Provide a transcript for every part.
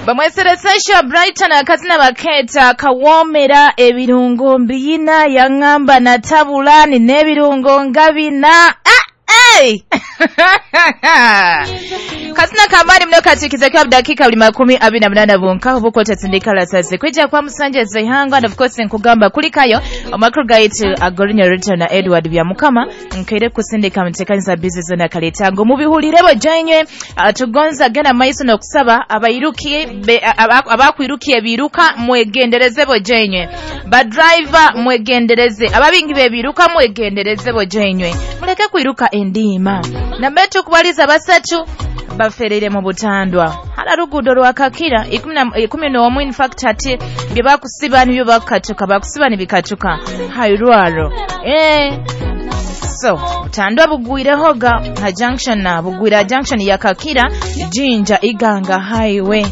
Bamweseresesha Brighton, akazina baketa "Kawomera". Ebirungo mbiyina, yaŋŋamba natabula nina ebirungo nga bina. Ah, hey! Kazina kamaani muno katikiza kwa dakika buli 28 bunka obukwota sindika lasase kwijja kwa musanja zeihanga. And of course nkugamba kulikayo amakuru gaitu agorinya Rita na Edward Byamukama nkaire kusindika mutekanisa bizi zona kaletango mubihulire bojanywe. Tugonza genda maiso n'okusaba abairuki abakwirukiye biruka mwegendereze bojanywe, badriver mwegendereze, ababingi bebiruka mwegendereze bojanywe, muleke kwiruka endiima. Nambetu kubaliza basatu bafereire mu butandwa hala luguudo lwa Kakira 11. In fact ati bye bakusiba nibyo bakukatuka, bakusiba nibikatuka hairwaro so butandwa bugwirehoga ha junction na bugwira junction ya Kakira Jinja Iganga Highway.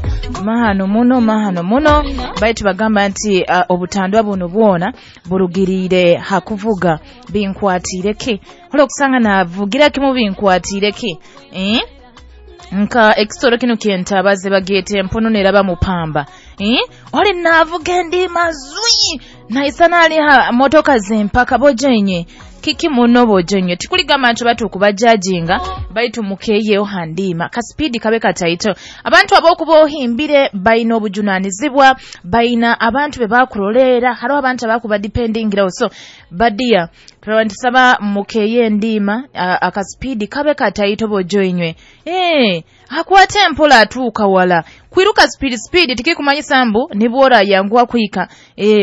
Mahano muno, mahano muno. Baitu bagamba nti obutandwa buno bwona burugirire hakuvuga binkwatiireki, olwokusanga navugira kimu binkwatiireki, eh? Nka ekisoro kino kyentabaze bagete empono neraba mupamba, eh? Oli navuga endiima zwi naisa naliha motoka zempaka bojenye kiki muno bojenye. Tikuligamba nti batukubajajinga, baitu mukeyeyo handima kasipidi kabe kataito. Abantu abokuba ohimbire balina obujunanizibwa, balina abantu be bakulolera, hariho abantu abakuba dependingiraho. So badiya turabantusaba mukeye endiima, akasipidi kabe kataito bojoinywe. Akwate empola atuuka wala. Kwiruka speed speed tikikumanyisa mbu nibwora yanguwa kuhika.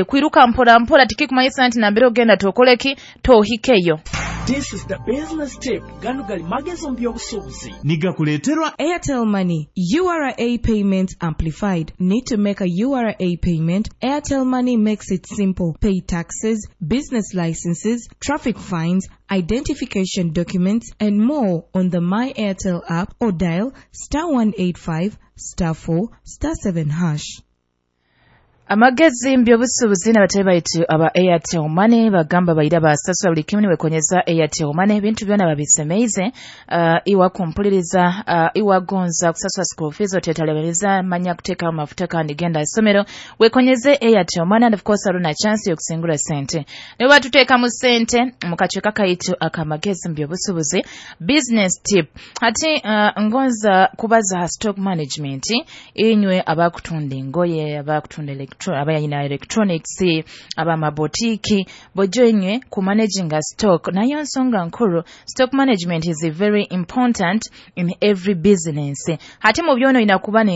Kwiruka mpora mpora tikikumanyisa nti nambere ogenda tokoleki tohikeyo. This is the business tip. Gano gali magezi mu by'obusuubuzi. Nigakuleeterwa Airtel Money, URA Payment Amplified. Need to make a URA payment? Airtel Money makes it simple. Pay taxes, business licenses, traffic fines, identification documents, and more on the My Airtel app or dial *185*4*7#. Amagezi mbyobusuubuzi n'abatali baitu aba Airtel Money bagamba baira basasula buli kimu niwekonyeza Airtel Money, ebintu byona babisemeize. Iwa kumpuliriza, iwagonza kusasula school fees, otetalebeleza manya kuteekamu mafuta kandi genda isomero, wekonyeze Airtel Money. And of course aruna chance yokusingura sente nibo batuteekamu sente mu kacweka kaitu akamagezi mbyobusuubuzi, business tip. Hati ngonza kubaza ha stock management. Inywe abakutunda engoye, abakutunda abayina electronics, abamabotiki bojo inywe ku managinga stock nayo nsonga nkuru. Stock management is very important in every business. Hati mu byono inakuba.